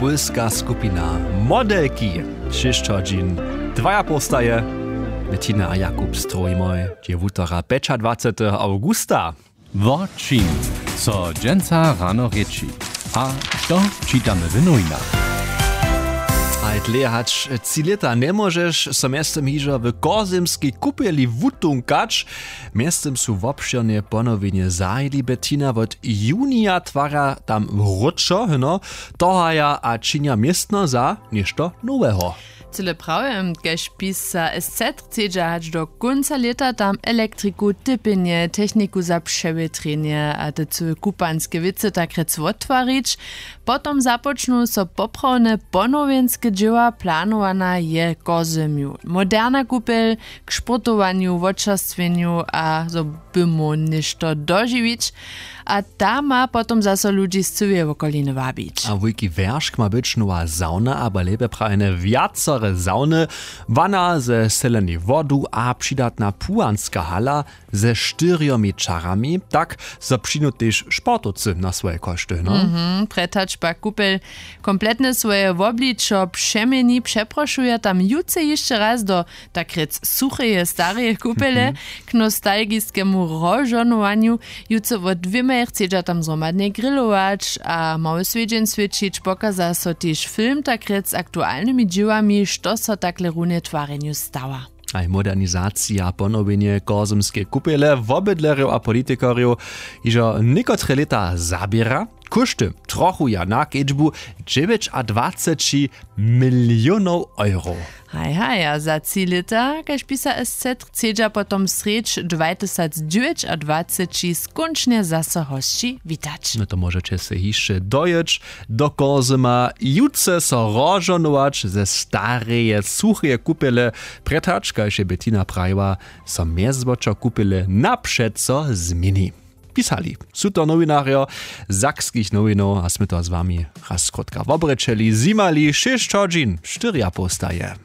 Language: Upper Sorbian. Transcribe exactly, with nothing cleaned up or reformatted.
Pólska skupina Modelki, šěsć hodźin dwajapołstaje. Bettina a Jakub strowimoj dźe wutora pjećadwaceteho awgusta. Wo čim so dźensa rano rěči a što čitamy w nowinach? A dlěje hač tři lěta njemóžeš so mjeztym hižo w kozymskej kupjeli wutunkać. Mjeztym su wobšěrnje ponowjenje zahajili. Bettina, wot junija twara tam wróćo hno tohaja a činja městno za něšto noweho. Cyle prawje, kaž pisa SZ chcedźa hač do kónca lěta tam elektriku, typjenje, techniku za přewětrjenje a te cyłe kupanske wěcy takrjec wottwarić. Potom započnu so poprawne ponowjenske dźěła. Planowana je kozymju moderna kupjel k sportowanju, wočerstwjenju a zo by móhł něšto dožiwić. A ta ma potom zaso ludźi z cyłeje wokoliny wabić. A wulki wjeršk ma być nowa sauna abo lěpje prawjene wjacore sauny, wana ze selenej wodu a přidatna płuwanska hala ze štyrjomi čarami, tak zo přińdu tež sportowcy na swoje košty, no. Mhm, prjetač pak kupel kompletne swoje wobličo přeměni. Přeprošuja tam jutře hišće raz do takrjec sucheje stareje kupele k nostalgiskemu rozžohnowanju. Jutře wot dwěmaj chcedźa tam zhromadnje grilować a mały swjedźeń swěćić, pokaza so tež film takrjec z aktualnymi dźěłami, što so takle runje twarjenju stała. Haj modernizacija a ponowjenje kozymskeje kupjele wobydlerjow a politikerjow hižo někotre lěta zaběra. Kóšty trochu ja na kedźbu dźewjećadwaceći milionow euro. Haj haj, a za tři lěta, kaž pisa SZ, chcedźa potom srjedź dwatysacdźewjećadwaceći skónčnje zaso hosći witać. No to móžeće sej hišće dojěć do kozyma jutře so rozžohnować ze stareje sucheje kupjele. Prjetač, kaž je Bettina prajiła, so mjezwočer kupjele napřeco změni. Pisali su to nowinarjo sakskich nowinow a smy to z wami raz krótka wobrěčeli zjimali šěsć hodźin štyriapołstaje.